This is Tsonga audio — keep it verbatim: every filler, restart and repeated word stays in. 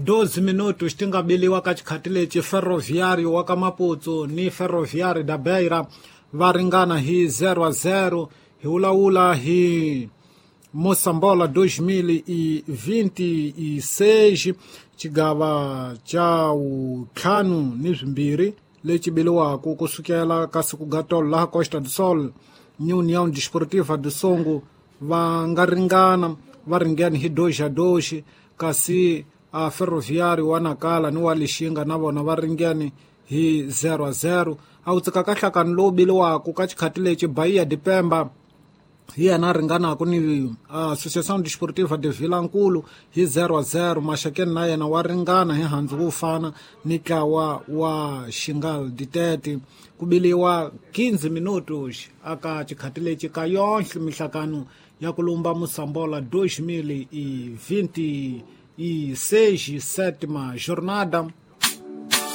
doze minutos ti nga biliwa ka xikhati lexi. Ferroviário wa ka Maputo ni Ferroviário da Beira va ringana hi zero a zero. Hi vulavula hi Moçambola dois mil e vinte e seis, xigava xa vuntlhanu ni swimbirhi lexi biliwaka kusukela ka siku ga tolo laha Costa do Sol ni União Desportiva do Songo va nga ringana, va ringene hi dois a dois, kasi a Ferroviário wa Nakala ni wa Lixinga na vona va ringene hi zero a zero. A wu tsika ka nhlakano lowu biliwaka ka xikhati lexi, Bahia de Pemba hi yena a ringanaka ni Associação Desportiva de Vilankulu hi zero a zero. Maxakeni na yena wa ringana hi handzu wo fana ni ntlawa wa Xingal Ditete. Ku biliwa quinze minutos aka xikhati lexi ka yonhle mihlakano ya ku lumba Moçambola dois mil e vinte e seis, sétima jornada.